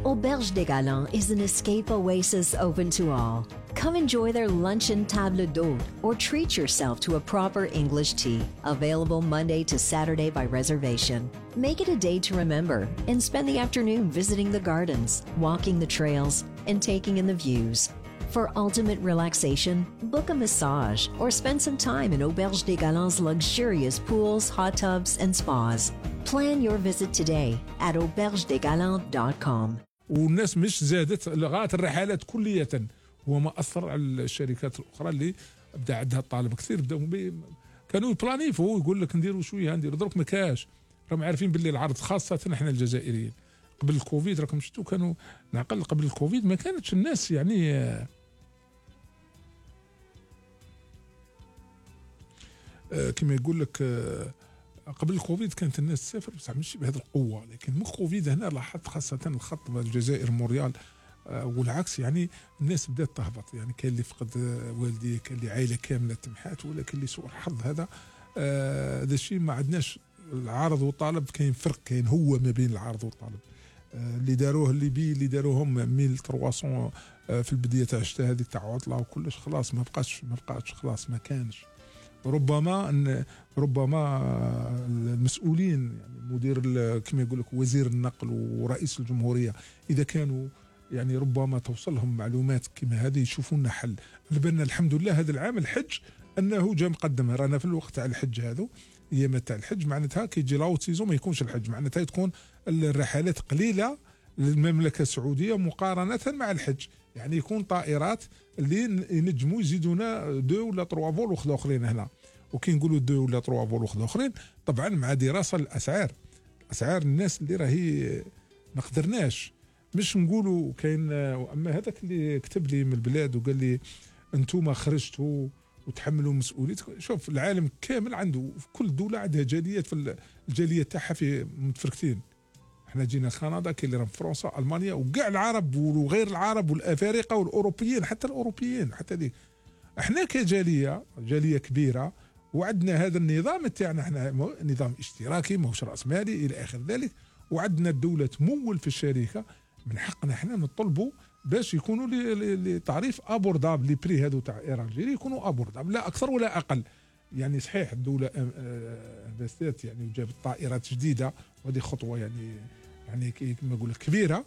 Auberge des Galants is an escape oasis open to all. Come enjoy their luncheon table d'hôte or treat yourself to a proper English tea, available Monday to Saturday by reservation. Make it a day to remember and spend the afternoon visiting the gardens, walking the trails, and taking in the views. For ultimate relaxation, book a massage or spend some time in Auberge des Galants' luxurious pools, hot tubs, and spas. Plan your visit today at aubergedesgalants.com. والناس مش زادت لغايه الرحلات كليه، هو ما اثر على الشركات الاخرى اللي بدا عندها الطالب كثير، بداو كانوا يبلانيفو يقول لك نديروا شويه نديروا، درك ما كاش، راهم عارفين باللي العرض خاصه احنا الجزائريين قبل الكوفيد راكم شفتوا كانوا نعقل قبل الكوفيد ما كانتش الناس يعني كما يقول لك قبل الكوفيد كانت الناس تسافر بصح مش بهذه القوه، لكن من الكوفيد هنا لاحظت خاصه الخط الجزائر مونريال والعكس، يعني الناس بدات تهبط، يعني كاين اللي فقد والديه، كاين اللي عائله كامله تمحات، ولا كاين اللي سوء الحظ. هذا الشيء ما عندناش العارض والطالب، كاين فرق، كاين هو ما بين العارض والطالب. اللي داروه اللي داروهم 1300 في البدايه تاع الشتاء هذه تاع عطله وكلش، خلاص ما بقاش خلاص ما كانش. ربما المسؤولين يعني مدير كما يقول لك وزير النقل ورئيس الجمهوريه اذا كانوا يعني ربما توصلهم معلومات كما هذه يشوفوا لنا حل. لبنا الحمد لله هذا العام الحج انه جا مقدم، رانا في الوقت تاع الحج هذو ايام تاع الحج، معناتها كي يجي لاوت سيزون ما يكونش الحج، معناتها تكون الرحلات قليله للمملكه السعوديه مقارنه مع الحج، يعني يكون طائرات اللي ينجموا يزيدونا 2 ولا 3 فول وخذوا اخرين هنا، وكي نقولوا 2 ولا 3 فول وخذوا اخرين طبعا مع دراسه الاسعار الناس اللي راهي ما قدرناش، مش نقولوا كاين. اما هذاك اللي كتب لي من البلاد وقال لي انتم خرجتوا وتحملوا مسؤوليتكم، شوف العالم كامل عنده في كل دوله عندها جاليات، في الجاليه تاعها في متفرقتين. احنا جينا كندا، كاين اللي راهم في فرنسا، المانيا، وكاع العرب وغير العرب والافارقه والاوروبيين، حتى الاوروبيين حتى دي. احنا كجاليه كبيره وعندنا هذا النظام تاعنا، احنا نظام اشتراكي ماهوش راس مالي الى اخر ذلك، وعندنا الدوله تمول في الشركه، من حقنا احنا نطلبوا باش يكونوا لتعريف ابورداب لي بري هذو تاع ايرانجيري يكونوا ابورداب، لا اكثر ولا اقل. يعني صحيح الدوله انفستات يعني وجابت طائرات جديده، وهذه خطوه يعني كما نقول كبيره،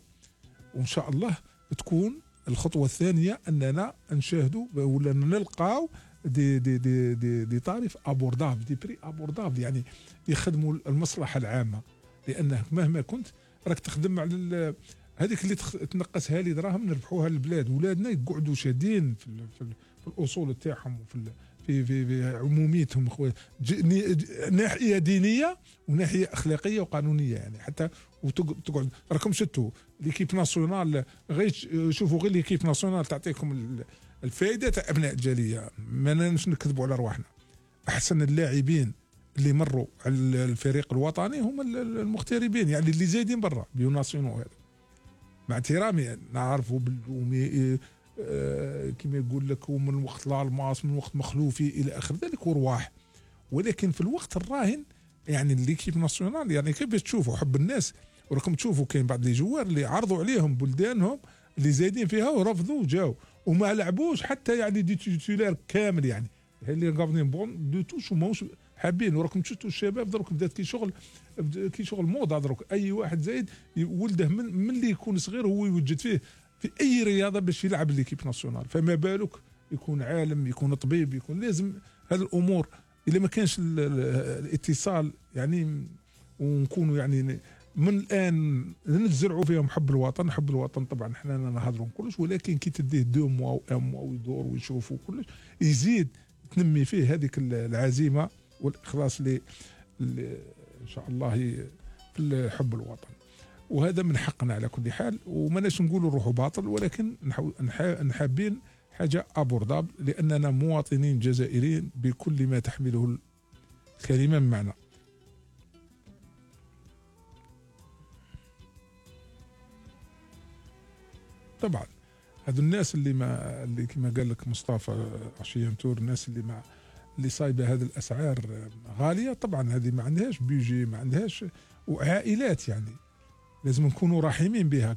وان شاء الله تكون الخطوه الثانيه اننا نشاهدوا ولا نلقاو دي تعريف ابورداب، دي بري ابورداب، يعني يخدموا المصلحه العامه، لانه مهما كنت راك تخدم على هذيك اللي تنقصها لي دراهم نربحوها للبلاد، ولادنا يقعدوا شادين في الاصول تاعهم وفي في عموميتهم، ناحيه دينيه وناحيه اخلاقيه وقانونيه، يعني حتى وتقعد راكم شتوا ليكيب ناسيونال، غير شوفوا غير ليكيب ناسيونال تعطيكم الفائده تاع ابناء الجاليه، ما نكذبوا على رواحنا. احسن اللاعبين اللي مروا على الفريق الوطني هم المغتربين، يعني اللي زايدين برا بيو ناسيونال، هذا مع احترامي نعرفوا كما يقول لك من وقت الالماس، من وقت مخلوفي الى اخر ذلك ورواح، ولكن في الوقت الراهن يعني ليكيب ناسيونال يعني كيف تشوفوا حب الناس، وراكم تشوفوا كاين بعض لي جوار اللي عرضوا عليهم بلدانهم اللي زايدين فيها ورفضوا وجاو وما لعبوش حتى يعني دي تيتولار كامل، يعني اللي غابنين بون دو توش وماوش حابين. وراكم تشوفوا الشباب دروك بدات كي شغل موضه، دروك اي واحد زايد ولده من اللي يكون صغير هو يوجد فيه في اي رياضه باش يلعب ليكيب ناسيونال، فما بالك يكون عالم، يكون طبيب، يكون لازم هذه الامور اذا ما كانش الاتصال يعني، ونكونوا يعني من الان نزرعوا فيهم حب الوطن طبعا احنا نهضروا كلش، ولكن كي تديه 2 موا ويدور ويشوفوا كلش يزيد تنمي فيه هذيك العزيمه والاخلاص اللي ان شاء الله في حب الوطن، وهذا من حقنا على كل حال، وماناش نقولوا نروحوا باطل، ولكن نحابين حاجه ابورداب، لاننا مواطنين جزائريين بكل ما تحمله الكلمه من معنى. طبعا هذو الناس اللي كما قال لك مصطفى عشيان تور، الناس اللي صايبه هذه الاسعار غاليه، طبعا هذه ما عندهاش بيجي، ما عندهاش، وعائلات يعني لازم نكونوا رحيمين بها.